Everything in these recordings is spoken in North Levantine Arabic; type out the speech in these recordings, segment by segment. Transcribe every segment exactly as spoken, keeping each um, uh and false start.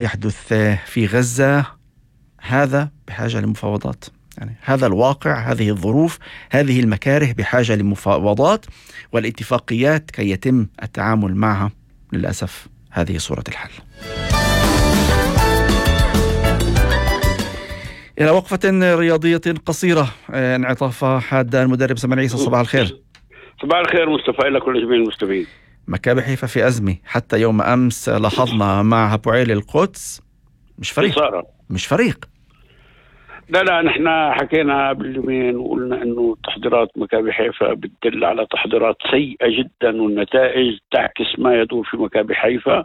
يحدث في غزة هذا بحاجة لمفاوضات. يعني هذا الواقع، هذه الظروف، هذه المكاره بحاجة لمفاوضات والاتفاقيات كي يتم التعامل معها. للأسف هذه صورة الحال. إلى وقفة رياضية قصيرة، انعطاف حاد المدرب سمير عيسى. صباح الخير. صباح الخير مصطفى، لك كل جميع المستمعين. مكابي حيفا في أزمة، حتى يوم أمس لاحظنا مع هابوعيل القدس مش فريق صارة. مش فريق لا لا نحن حكينا باليومين وقلنا انه تحضيرات مكابي حيفا بتدل على تحضيرات سيئة جدا، والنتائج تعكس ما يدور في مكابي حيفا.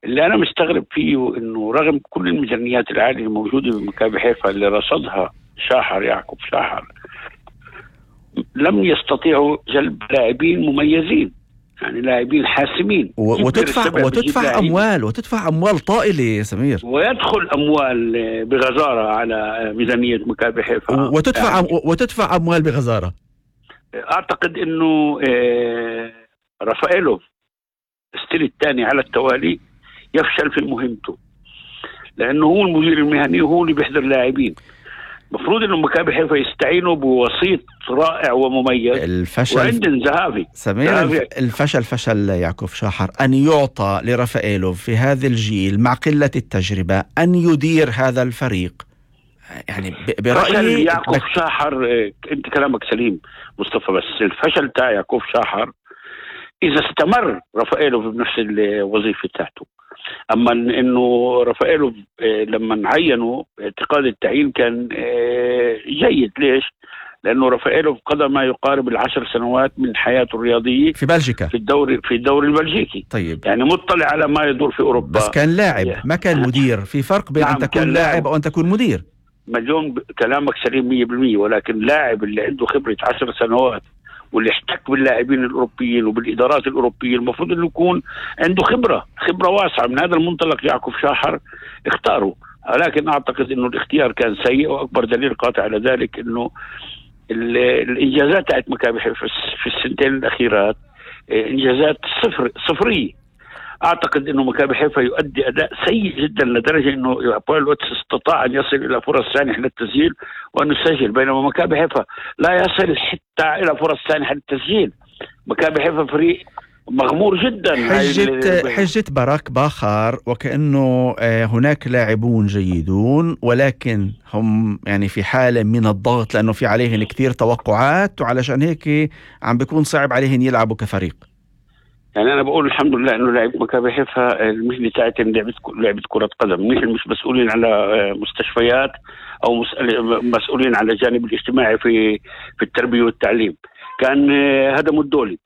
اللي انا مستغرب فيه انه رغم كل الميزانيات العالية الموجودة بمكابي حيفا اللي رصدها شاحر يعقوب شاحر، لم يستطيعوا جلب لاعبين مميزين، يعني لاعبين حاسمين. وتدفع وتدفع اموال وتدفع اموال طائله يا سمير، ويدخل اموال بغزاره على ميزانيه مكابي حيفا، وتدفع يعني وتدفع اموال بغزاره. اعتقد انه رافائيلوف الستيل الثاني على التوالي يفشل في مهمته، لانه هو المدير المهني وهو اللي بيحضر لاعبين. مفروض انه مكابي حيفا يستعينوا بوسيط رائع ومميز. الفشل وعندن ذهابي سمير ذهابي. الفشل فشل يعقوب شاحر أن يعطى لرافائيلوف في هذا الجيل مع قلة التجربة أن يدير هذا الفريق. يعني برأيي يعقوب بك... شاحر، انت كلامك سليم مصطفى، بس الفشل تاع يعقوب شاحر اذا استمر رافائيلوف بنفس الوظيفة تاعته. اما انه رافائيلوف لما عينوا اعتقاد التعيين كان جيد. ليش؟ لانه رافائيلوف قضى ما يقارب العشر سنوات من حياته الرياضيه في بلجيكا، في الدوري في الدوري البلجيكي. طيب يعني مطلع على ما يدور في اوروبا، بس كان لاعب ما كان مدير. في فرق بين نعم ان تكون لاعب او ان تكون مدير. مليون كلامك سليم مية بالمية، ولكن لاعب اللي عنده خبره عشر سنوات واللي احتك باللاعبين الاوروبيين وبالادارات الاوروبيه المفروض انه يكون عنده خبره خبره واسعه. من هذا المنطلق يعقوب شاحر اختاره، ولكن اعتقد انه الاختيار كان سيء، واكبر دليل قاطع على ذلك انه الانجازات تاعت مكابي حيفا في السنتين الاخيرات انجازات صفر صفريه. اعتقد انه مكابي حيفا يؤدي اداء سيء جدا لدرجه انه هابوعيل القدس استطاع ان يصل الى فرص سانحه للتسجيل وان يسجل، بينما مكابي حيفا لا يصل حتى الى فرص سانحه للتسجيل. مكابي حيفا فريق مغمور جدا. حجة حجة باراك باخر وكأنه هناك لاعبون جيدون، ولكن هم يعني في حالة من الضغط لأنه في عليهم كثير توقعات، وعلشان هيك عم بيكون صعب عليهم يلعبوا كفريق. يعني أنا بقول الحمد لله إنه لاعب مكابي حيفا المهنة تاعتهم لعبة لعبة كرة قدم، نحن مش مسؤولين على مستشفيات أو مسؤولين على الجانب الاجتماعي في في التربية والتعليم. كان هذا مدولي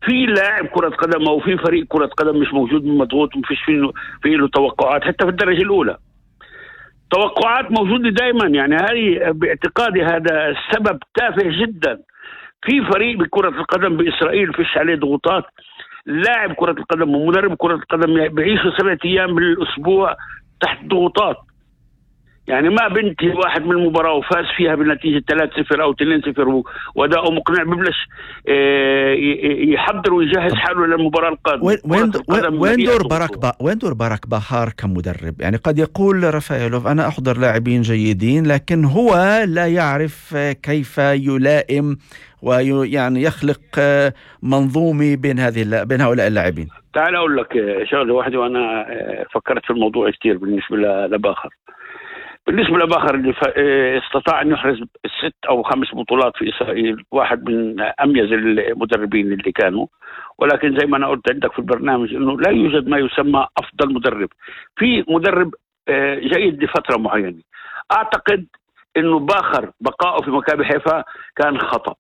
في لاعب كرة قدم أو في فريق كرة قدم مش موجود مضغوط ومفيش فيه فيه له توقعات. حتى في الدرجة الأولى توقعات موجودة دائما. يعني هذه باعتقادي هذا السبب تافه جدا. في فريق بكرة القدم بإسرائيل فيش عليه ضغوطات. لاعب كرة القدم ومدرب كرة القدم بيعيشوا سبعة أيام بالأسبوع تحت ضغوطات. يعني ما بنتي واحد من المباراة وفاز فيها بنتيجة ثلاثة صفر أو اثنين صفر وأداؤه مقنع ببلش يحضر ويجهز حاله للمباراة القادمة. وين وين دور باراك با وين دور باراك باخر كمدرب؟ يعني قد يقول رافائيلوف أنا أحضر لاعبين جيدين، لكن هو لا يعرف كيف يلائم ويعني يخلق منظومة بين هذه بين هؤلاء اللاعبين. تعال أقول لك شغلة واحدة، وأنا فكرت في الموضوع كتير بالنسبة لباخر. بالنسبة لباخر اللي استطاع أن يحرز ست أو خمس بطولات في إسرائيل، واحد من أميز المدربين اللي كانوا، ولكن زي ما أنا قلت عندك في البرنامج إنه لا يوجد ما يسمى أفضل مدرب. في مدرب جيد لفترة معينة. أعتقد إنه باخر بقائه في مكابي حيفا كان خطأ،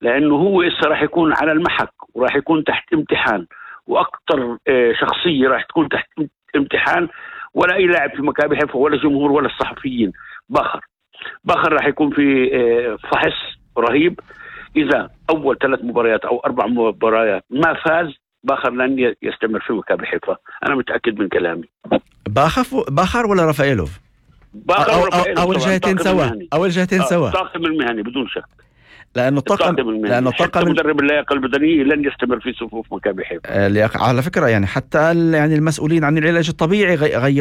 لأنه هو إسا راح يكون على المحك وراح يكون تحت امتحان، وأكثر شخصية راح تكون تحت امتحان ولا أي لاعب في مكابي حيفا ولا جمهور ولا الصحفيين. باخر باخر راح يكون في فحص رهيب. إذا أول ثلاث مباريات أو أربع مباريات ما فاز، باخر لن يستمر في مكابي حيفا. أنا متأكد من كلامي. باخر باخر ولا رافائيلوف؟ باخر أو, أو, أو الجهتين سوا أو الجهتين سوا طاقم المهني بدون شك. لأنه الطاقم لأنه حتى الطاقم مدرب اللياقة البدنية لن يستمر في صفوف مكابي حيفا. على فكرة يعني حتى يعني المسؤولين عن العلاج الطبيعي غيروا